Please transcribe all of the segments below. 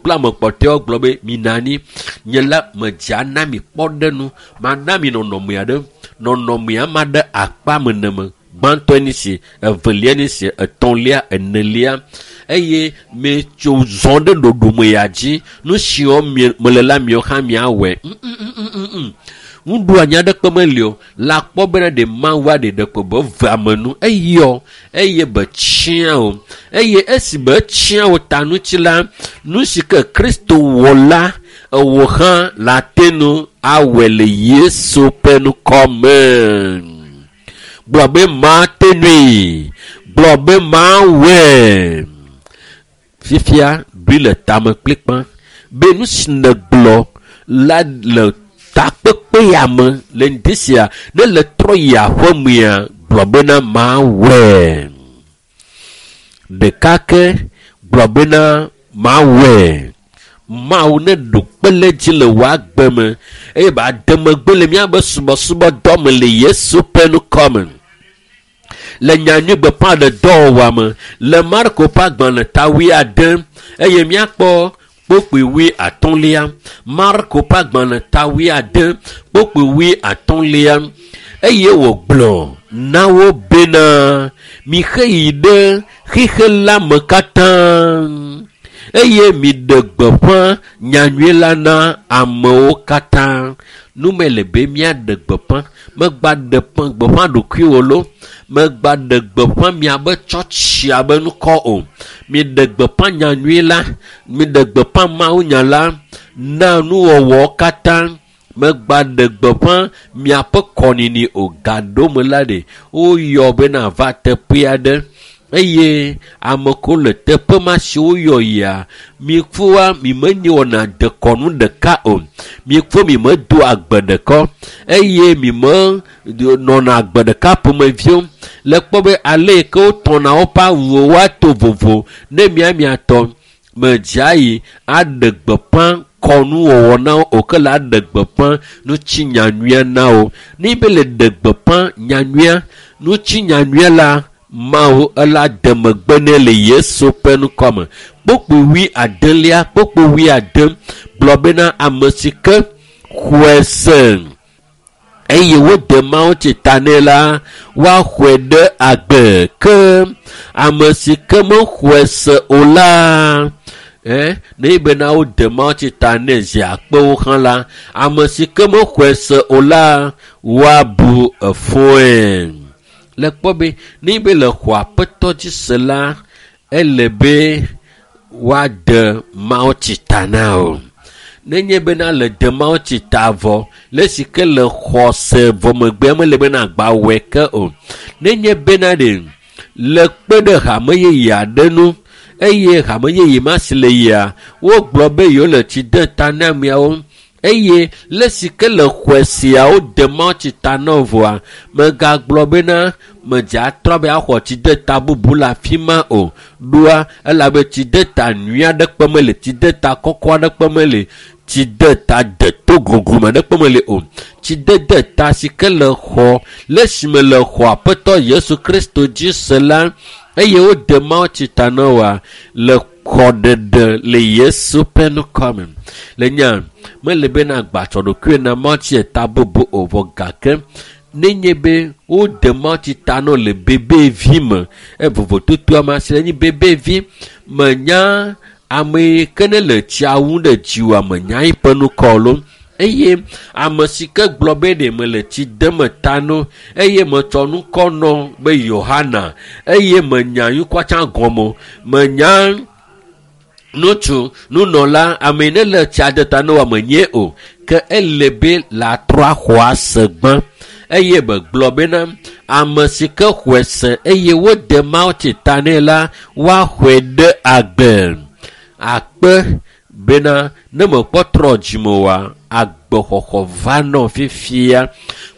Kple ame kpɔtɔewo gblɔ be mina anyi. Nye la medze ana mi kpɔɖenu. Mana mi nɔnɔme aɖe. Nɔnɔmea ma ɖe akpa me neme. Gbãtɔe nye si, evelia nye si, etɔ̃lia, enelia eye metso zɔ ɖe ɖoɖome ya dzi. Nu siwo mele la miawo hã miawɔe. Mm-mm-mm-mm. Nuɖoanyi aɖeke meli o. Le akpɔ bena ɖe Mawu aɖe ɖeko be ve ame nu. Eyɔ eye be tsiã o. Eye esi be tsiã o ta ŋuti la, nu si ke Kristo wɔ la, ewò hã le ate nu awɔe le Yesu ƒe ŋkɔ me. Gblɔ be mate nui. Gblɔ be mawɔe. Fifia ɖoe le tame kplikpa be nu si nègblɔ la le takpekpe ya me le ŋdi sia ne le trɔ yi aƒemea gblɔ bena mawɔe. Ɖeka ke gblɔ bena mawɔe. Mawu ne ɖo kpe ɖe edzi le wò agbe me eye be ade megbe le míaƒe subɔsubɔdɔ me le Yesu ƒe ŋkɔ me. Le nyanyui gbeƒãɖedɔwɔwɔa me le Marko ƒe agbalẽ ta wuiade eye míakpɔ kpokpui wui atɔ̃lia. Marko ƒe agbalẽ ta wuiade kpokpui wui atɔ̃lia eye wògblɔ na wo bena mixe yi ɖe xixe la me katã eye miɖe gbeƒã nyanyui la na amewo katã. Nu me le be míaɖe gbeƒã. Megba ɖe gbeƒã ɖokuiwò lo. Megba ɖe gbeƒã miabe tsɔtsia be ŋkɔ o. Miɖe gbeƒã nyanyui la. Miɖe gbeƒã mawunya la na nuwɔwɔ katã. Megba ɖe gbeƒã miaƒe kɔnini o. Gaɖome la ɖe woyɔ bena va teƒe aɖe eye ame ko le teƒe ma si woyɔ yia, mikfoa mimenye wɔna dekɔnu ɖeka o. Mikfo mimedo agbe ɖeka eye mime nɔna agbe ɖeka ƒomeviwo. Le kpɔ be ale yi ke wotɔna woƒe awuwo woato vovo ne mia miatɔ medzea yi aɖe gbeƒã kɔnuwɔwɔ na wo o ke le aɖe gbeƒã ŋuti nyanyuia na wo. Ne be le ɖe gbeƒã nyanyuia ŋuti nyanyuia la Mawu ela de megbe nɛ le Yesu ƒe ŋkɔ me. Kpokpui wui adelia, kpokpui wui ade gblɔ bena ame si ke xɔe se eye wode Mawu tsi ta nɛ la, woaxɔe ɖe agbe. Ke ame si ke mexɔe se o la, ne bena wode Mawu tsi ta nɛ zi akpewo hã la, ame si ke mexɔe se o la, woabu efɔe. Le kpɔ be ne be le xɔ aƒetɔ dzi se la, ele be woade Mawu tsi ta na o. Nenye bena le de Mawu tsi ta vɔ, le si ke le xɔ se vɔ megbea mele bena agba wɔe ke o. Nenye bena ɖe le kpe ɖe hame yeye aɖe ŋu eye hame yeye ma si le yia, wogblɔ be yewo le tsi de ta na ameawo eye le si ke le xɔe siawo de Mawu tsi ta na wo vɔa, megagblɔ bena medze atrɔ be axɔ tsi de ta bubu le afi ma o. Ɖoa elabe tsi de ta nyui aɖeke mele, tsi de ta kɔkɔ aɖeke mele, tsi de ta deto gogome aɖeke mele o. Tsi dede ta si ke le xɔ le esime le xɔ Aƒetɔ Yesu Kristo dzi se la eye wode Mawu tsi ta na woa le xɔɖeɖe le Yesu ƒe ŋkɔ me. Le nya mele bena agbatsɔ ɖokuiwò na Mawu tsi ta bubu o vɔ gake nenye be wode Mawu tsi ta na wo le bebevi me evovototo ame si le nyi bebevi menya ame yi ke ne le tsia wum ɖe dziwòa menya eƒe ŋkɔ lo eye ame si ke gblɔ be ɖe mele tsi dem ta no eye metsɔ ŋkɔ nɔ be Yohana eye menya ŋkɔ tsã gɔme o menya ŋutsu nunɔla ame yi ne le tsia de ta no menye o ke ele be le atrɔ axɔ ase gbã eye megblɔ bena ame si ke xɔe se eye wode Mawu tsi ta nɛ la woaxɔe ɖe agbe akpe bena ne mekpɔ trɔ dzime oa agbexɔxɔ va nɔ fifia.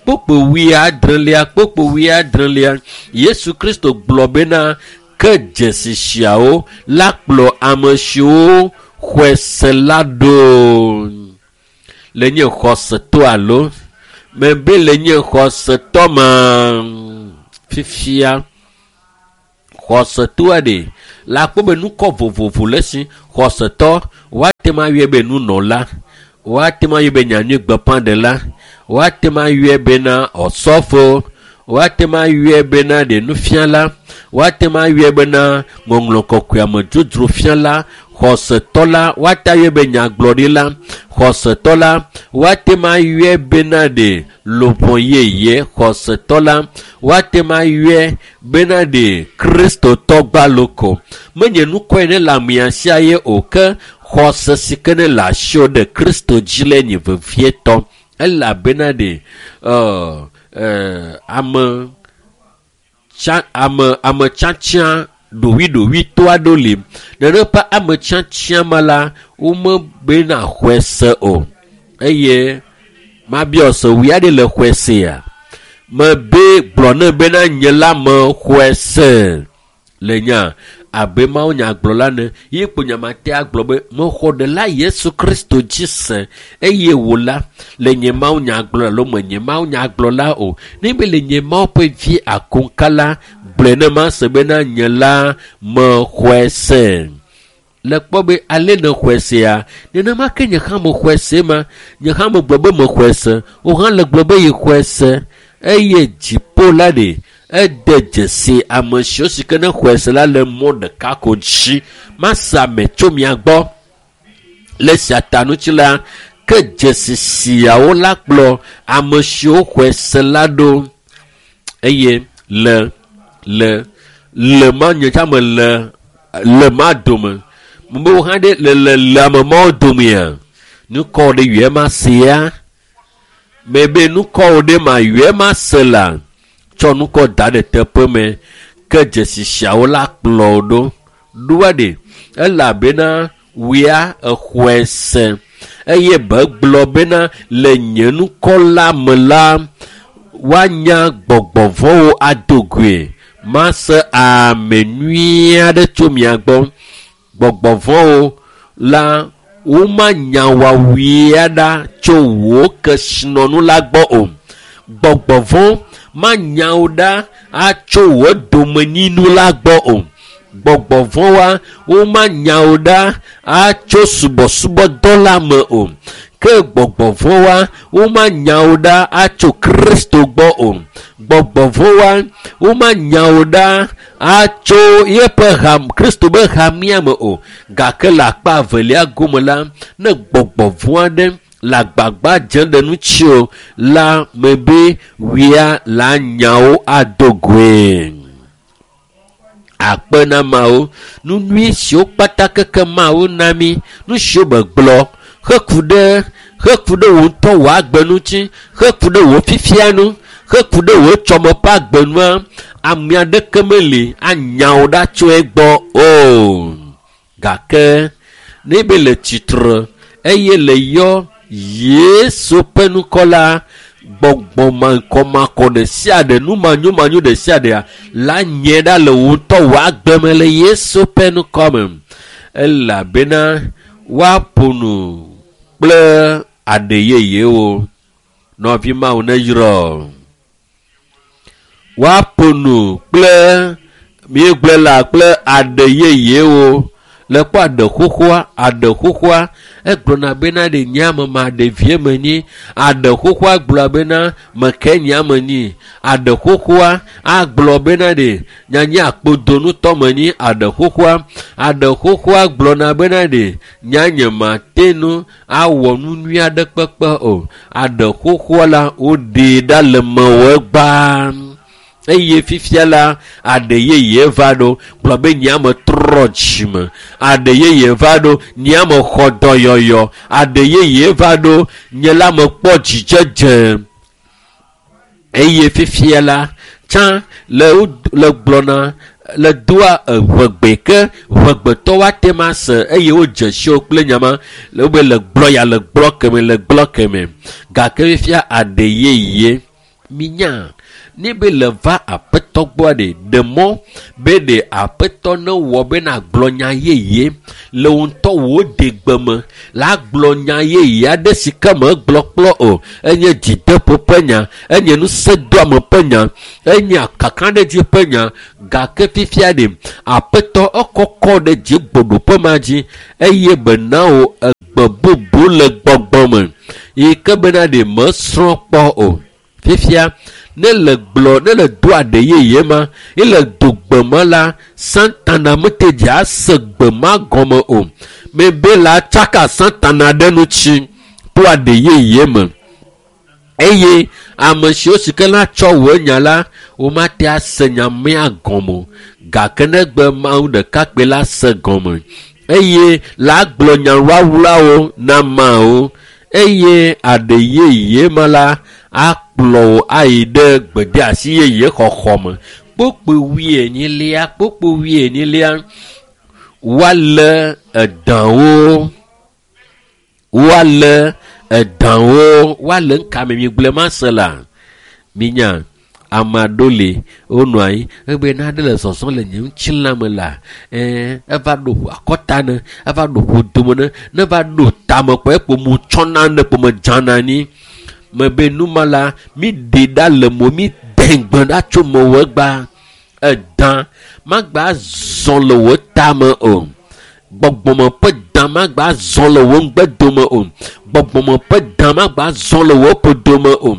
Kpokpo wuiadrelia kpokpo wuiadrelia Yesu Kristo gblɔ bena ke dzesi siawo la kplɔ ame siwo xɔe se la ɖo. Le nye xɔsetɔ alo mebe le nye xɔsetɔ ma fifia xɔsetɔa ɖe La kpɔ be nukɔ vovovo le si xɔsetɔ woate ŋu ayɔe be nunɔla, woate ŋu ayɔe be nyanyuigbeƒãɖela, woate ŋu ayɔe bena ɔsɔfo, woate ŋu ayɔe bena ɖe nufiala, woate ŋu ayɔe bena ŋɔŋlɔ kɔkɔea me dzodzro fiala, xɔsetɔ la woate ayɔe be nyagblɔɖila, xɔsetɔ la woate ŋu ayɔe bena ɖe luʋɔ yeye, xɔsetɔ la woate ŋu ayɔe bena ɖe kristotɔ gbaloko. Menye nukɔe ne le amea sia ye o ke xɔse si ke ne le asiwò ɖe Kristo dzi le nye vevietɔ elabena ɖe ame tsatsia ɖowiɖowitɔ aɖewo li. Nene ƒe ame tsatsia ma la womebena xɔe se o eye mabiɔ se wui aɖe le xɔe sea mebe gblɔ ne bena nye la me xɔe se le nya abe Mawu nyagblɔla ne ye kpo nyamate agblɔ be mexɔ ɖela Yesu Kristo dzi se eye wò la le nye Mawu nyagblɔla alo menye Mawu nyagblɔla o. Ne be le nye Mawu ƒe vi akoŋka la gblɔe ne mase bena nye la mexɔe se. Le kpɔ be ale ne xɔe sea nenema ke nye hã mexɔe se ma nye hã megblɔ be mexɔe se wò hã le gblɔ be yexɔe se eye dziƒo la ɖe ede dzesi ame siwo si ke ne xɔe se la le mɔ ɖeka ko dzi mase ame tso mia gbɔ le sia ta ŋuti la ke dzesi siawo la kplɔ ame siwo xɔe se la ɖo eye le le le ma nye tsa me le le ma dome mebe wo hã ɖe le le le ame mawo domea nukɔ ɖe yɔe ma sea mebe nukɔ ɖe ma yɔe ma se la tsɔ nukɔ da ɖe teƒe me ke dzesi siawo la kplɔ wo ɖo ɖoa ɖe elabena wia exɔe se eye be gblɔ bena le nye nukɔ la me la woanya gbɔgbɔvɔwo ado goe mase ame nyui aɖe tso mia gbɔ gbɔgbɔvɔwo la womanya wɔwui ɖa tso wò kesinɔnu la gbɔ o gbɔgbɔvɔ manya wo ɖa atso wò domenyinu la gbɔ o gbɔgbɔvɔwoa womanya wo ɖa atso subɔsubɔdɔ la me o ke gbɔgbɔvɔwoa womanya wo ɖa atso Kristo gbɔ o gbɔgbɔvɔwoa womanya wo ɖa atso yeƒe ham Kristo be hamea me o gake le akpa evelia gome la ne gbɔgbɔvɔ aɖe le agbagba dzem ɖe ŋuti o la mebe wia la nyawo ado goe. Akpe na Mawu nu nyui siwo kpata keke Mawu na mi nu siwo megblɔ heku ɖe wò ŋutɔ wò agbe ŋuti heku ɖe wò fifia nu heku ɖe wò tsɔme ƒe agbe nua ame aɖeke meli anya wò ɖa tso egbɔ o gake ne be le tsitre eye le yɔ Yesu ƒe ŋkɔ la gbɔgbɔ makɔmakɔ ɖe sia ɖe nu manyomanyo ɖe sia ɖea la nye ɖa le wò ŋutɔ wò agbe me le Yesu ƒe ŋkɔ me elabena woaƒo nu kple aɖe yeyewo nɔvi Mawu ne yrɔ woaƒo nu kple míegblɔe la kple aɖe yeyewo le kpɔ aɖe xoxoa egblɔna bena ɖe nye ame ma ɖevie menyi aɖe xoxoa gblɔ bena meke nye ame nyi aɖe xoxoa agblɔ bena ɖe nyanye akpodonutɔ menyi aɖe xoxoa gblɔna bena ɖe nyanye mate nu awɔ nu nyui aɖe kpekpe o aɖe xoxoa la woɖee ɖa le mewɔ egbaa eye fifia la aɖe yeye va ɖo gblɔ be nye ame trɔ dzime aɖe yeye va ɖo nye ame xɔ dɔyɔyɔ aɖe yeye va ɖo nye la mekpɔ dzidzedze eye fifia la tsã le gblɔna le doa eʋegbe ke ʋegbetɔ woate ma se eye wodze siwo kple nyama le wobe le gblɔ ya le gblɔ keme le gblɔ keme gake fifia aɖe yeye minya. Ne be le va aƒetɔ gbɔa ɖe, ɖe mɔ be ɖe aƒetɔ ne wɔ be nagblɔ nya yeye le wò ŋutɔ wò degbe me. La gblɔ nya yeye aɖe si ke megblɔ kplɔ o. Enye dzideƒo ƒe nya, enye ŋusẽdoame ƒe nya, enye kakaɖedzi ƒe nya. Gake fifia ɖe, aƒetɔ ekɔkɔ ɖe dzigbɔɖoƒe ma dzi eye bena wò egbe bubu le gbɔgbɔ me yi ke bena ɖe mesrɔ̃ kpɔ o. Fifia ne le gblɔ ne le do aɖe yeye ma ye le do gbe ma la, Satana mete dzi ase gbe ma gɔme o. Mebe la tsaka Satana ɖe ŋuti to aɖe yeye me. Eye ame siwo si ke la tsɔ wò nya la, womate ase nya mea gɔme o. Gake negbe Mawu ɖekakpui la se gɔme eye la gblɔ nya wlawlawo na ameawo eye aɖe yeye ma la akplɔ wò ayi ɖe gbedeasi yeye xɔxɔ me. Kpukpui wuienyilia, kpukpui wuienyilia, woalé edawo, woalé edawo, woalé ŋkame mi gblɔe ma se la. Minya ame aɖewo li wonɔ anyi egbe naɖe le zɔzɔm le nye ŋutilã me la, eva ɖo akɔta ne, eva ɖo ƒodome ne, ne va ɖo tame kpɔ ekpo mu tsɔna ne kpo me dzana anyi. Mebe numa la, mi ɖe ɖa le mo, mi de gbe ɖa tso mewò egba. Edã magba zɔ le wò tame o. Gbɔgbɔme ƒe dã magba zɔ le wò ŋgbedome o. Gbɔgbɔme ƒe dã magba zɔ le wò ƒodome o.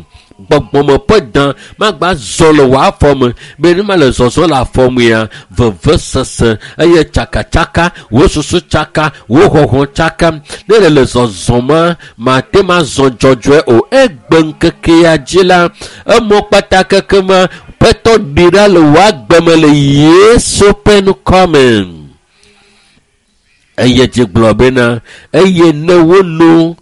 Gbɔgbɔme ƒe dã magba zɔ le wò afɔ me. Be ne ma le zɔzɔ le afɔ mea, vevesese eye tsakatsaka, wò susu tsaka, wò xɔxɔ tsaka. Ne le le zɔzɔ ma, mate ma zɔ dzɔdzɔe o. Egbe ŋkeke ya dzi la, emɔ kpata keke ma, ƒetɔ ɖi ɖa le wò agbe me le Yesu ƒe ŋkɔ me. Eye dzi gblɔ bena, eye ne wono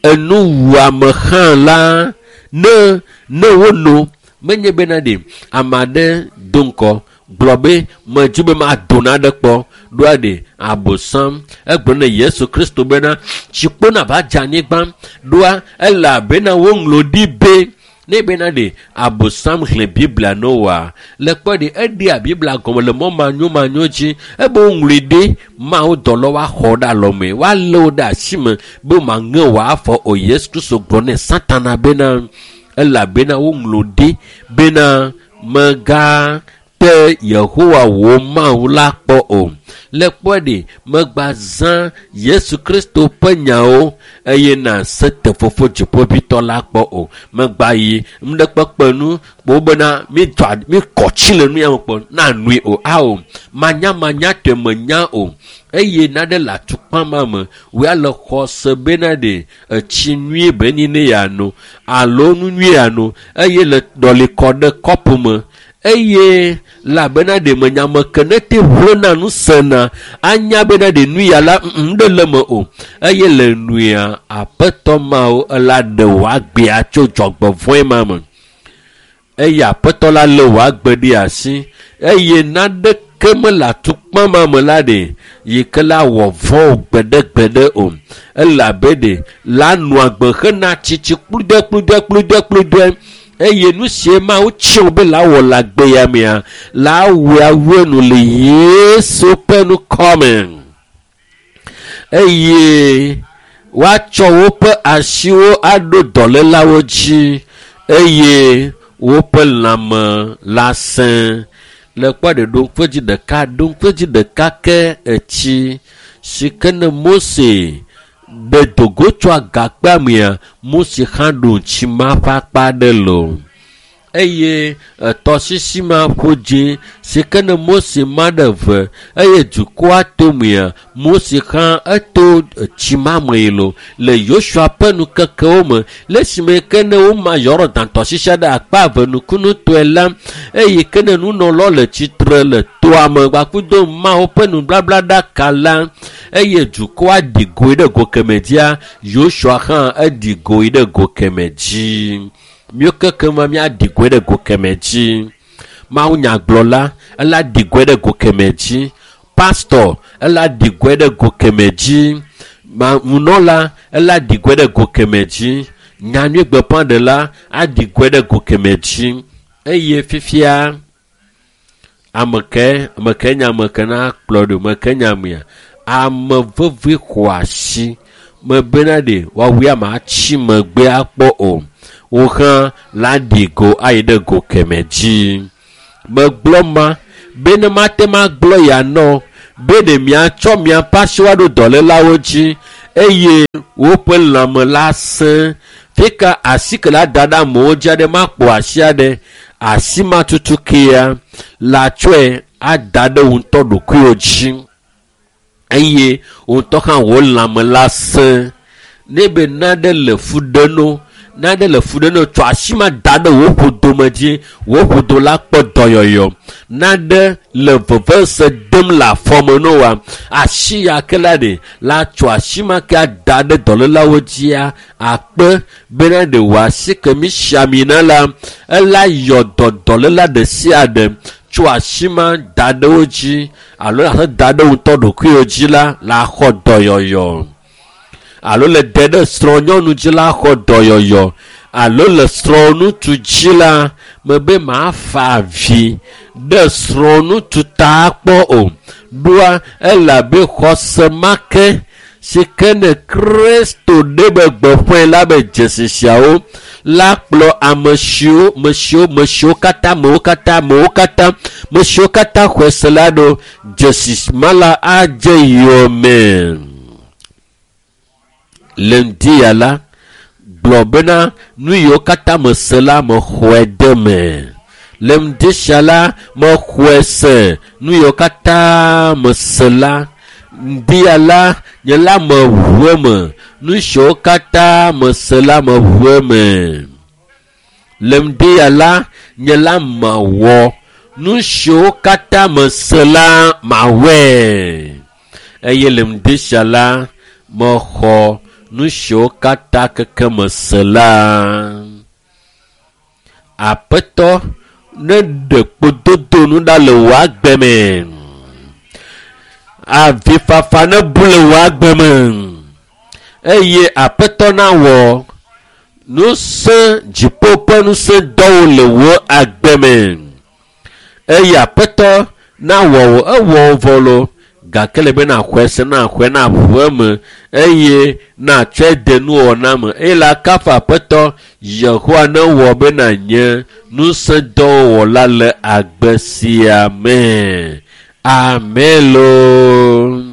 enuwuame hã la, ne ne wono, menye bena ɖe ame aɖe do ŋkɔ gblɔ be medzi be mado naɖe kpɔ ɖoa ɖe abosam. Egblɔ ne Yesu Kristo bena tsikpo nava dze anyigba ɖoa elabena woŋlɔ ɖi be ne bena ɖe abosam xlẽ Biblia ne woa le kpɔ ɖe eɖea Biblia gɔme le mɔ manyomanyo dzi ebe woŋlɔe ɖe Mawu dɔlɔ woaxɔ ɖe alɔme woalé wo ɖe asi me be maŋe wòafɔ o. Yesu Kristo gblɔ ne Satana bena elabena woŋlɔ ɖi bena mega te Yehowa wò Mawu la kpɔ o. Le kpɔ ɖe megba zã Yesu Kristo ƒe nyawo eye nase te fofo dziƒoʋĩtɔ la kpɔ o. Megba yi ŋɖekpekpe nu kpɔ bena mi dzɔ mi kɔ tsi le nu ya me kpɔ na nui o. Ao manyamanya tɔe menya o. Eye naɖe le atukpa ma me wòya le xɔse bena ɖe etsi nyuie be nyi ne yeano alo nu nyuie yeano eye le ɖɔli kɔ ɖe kɔpu me eye labena ɖe menya me ke ne te ʋlẽna nu sena anya bena ɖe nu ya la ŋɖe le me o eye le nuya aƒetɔ mawo ela ɖe wò agbea tso dzɔgbevɔ̃e ma me eye aƒetɔ la lé wò agbe ɖe asi eye naɖeke mele atukpa ma me la ɖe yi ke la wɔ vɔ̃ o gbeɖegbeɖe o elabe ɖe la nɔ agbe hena tsitsi kpludɔe kpludɔe kpludɔe kpludɔe eye nu sie Mawu tsi be la wɔ le agbe ya mea la wɔe awue nu le Yesu ƒe ŋkɔ me eye woatsɔ woƒe asiwo aɖo dɔlélawo dzi eye woƒe lãme la sẽ. Le kpɔ ɖe ɖoŋkpedzi ɖeka ɖoŋkpedzi ɖeka ke etsi si ke ne Mose ɖe dogo tso agakpea mea, Mose hã ɖo ŋuti ma ƒe akpa ɖe lo. Eye etɔsisi ma ƒo dzi si ke ne Mose ma ɖe ve eye dukɔa to mea, Mose hã eto etsi ma me yi lo le Yosua ƒe nukekewo me le esime ke ne woma Yɔrɔdan tɔsisia ɖe akpa eve nukunutɔe la eye ke ne nunɔlawo le tsitre le toa me gbakudo Mawu ƒe nubablaɖaka la eye dukɔa ɖi goe ɖe go keme dzia, Yosua hã eɖi goe ɖe go keme dzi. Míwo keke ma míaɖi goe ɖe go keme dzi. Mawu nyagblɔla ela ɖi goe ɖe go keme dzi. Pastor ela ɖi goe ɖe go keme dzi. Nunɔla ela ɖi goe ɖe go keme dzi. Nyanyuigbeƒãɖela aɖi goe ɖe go keme dzi. Eye fifia ame ke nye ame ke na kplɔ ɖo, ame ke nye amea, ame veve xɔ asi mebena ɖe woawoe ame atsi megbe akpɔ o. Wo hã la ɖi go ayi ɖe go keme dzi. Megblɔ ma be ne mate ma gblɔ ya nɔ be ɖe miatsɔ miaƒe asiwo aɖo dɔlélawo dzi eye woƒe lãme la sẽ. Fika asi ke la da ɖe amewo dzi aɖe makpɔ asi aɖe, asi ma tutu kea la tsɔe ada ɖe wo ŋutɔ ɖokuiwo dzi eye wo ŋutɔ hã wo lãme la sẽ. Ne be naɖe le fu ɖe no, naɖe le fu ɖe no, tsɔ asi ma da ɖe wo ƒodome dzi, wo ƒodo la kpɔ dɔyɔyɔ. Naɖe le vevese dem le afɔme no wa, asi ya ke la ɖe la tsɔ asi ma ke ada ɖe dɔlélawo dzia akpe bena ɖe wò asi ke mi si ami na la, ela yɔ dɔ dɔléla ɖe sia ɖe tso asi ma da ɖe wo dzi alo ase da ɖe ŋutɔ ɖokuiwo dzi la la xɔ dɔyɔyɔ. Alo le de ɖe srɔ̃nyɔnu dzi la xɔ dɔyɔyɔ. Alo le srɔ̃ŋutsu dzi la mebe mafa avi ɖe srɔ̃ŋutsu ta kpɔ o. Ɖoa elabe xɔse ma ke si ke ne Kristo ɖe be gbeƒãe la be dzesi siawo la kplɔ ame siwo katã me siwo katã xɔe se la ɖo dzesi ma la adze yome. Le ŋdi ya la gblɔ bena nu yiwo katã mese la mexɔe de me. Le ŋdi sia la mexɔe se nu yiwo katã mese la. Ŋdi ya la nye la meʋu eme nu siwo katã mese la meʋu eme. Le ŋdi ya la nye la mewɔ nu siwo katã mese la mawɔe. Eye le ŋdi sia la mexɔ nu siwo katã keke mese la. Aƒetɔ ne ɖe kpododo nu ɖa le wò agbe me. Avifafa ne bu le wò agbe me. Eye Aƒetɔ nawɔ ŋusẽ dziƒo ƒe ŋusẽ dɔwo le wò agbe me. Eye Aƒetɔ nawɔ wò ewɔ vɔ lo gake le be naxɔe se naxɔe naʋu eme eye natsɔe de nuwɔna me. Eye la kafu Aƒetɔ Yehowa ne wɔ be nanye ŋusẽdɔwɔla le agbe sia me. Amen loo.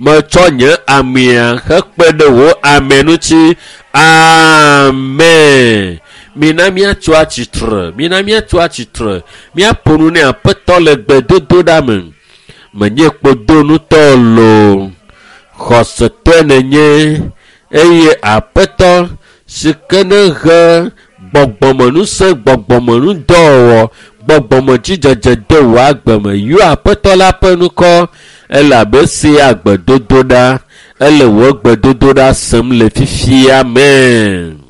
Metsɔ nye amea hekpe ɖe wò ame ŋuti. Amen. Mina míatso atsitre, mina míatso atsitre, míaƒo nu ne Aƒetɔ le gbedodoɖa me. Menye kpodonutɔ loo, xɔsetɔe nenye eye Aƒetɔ si ke ne he gbɔgbɔmenusẽ, gbɔgbɔmenudɔwɔwɔ, gbɔgbɔmedzidzedze de wò agbe me. Yɔ Aƒetɔ la ƒe ŋkɔ elabe se agbedodoɖa, ele wò gbedodoɖa sem le fifia me.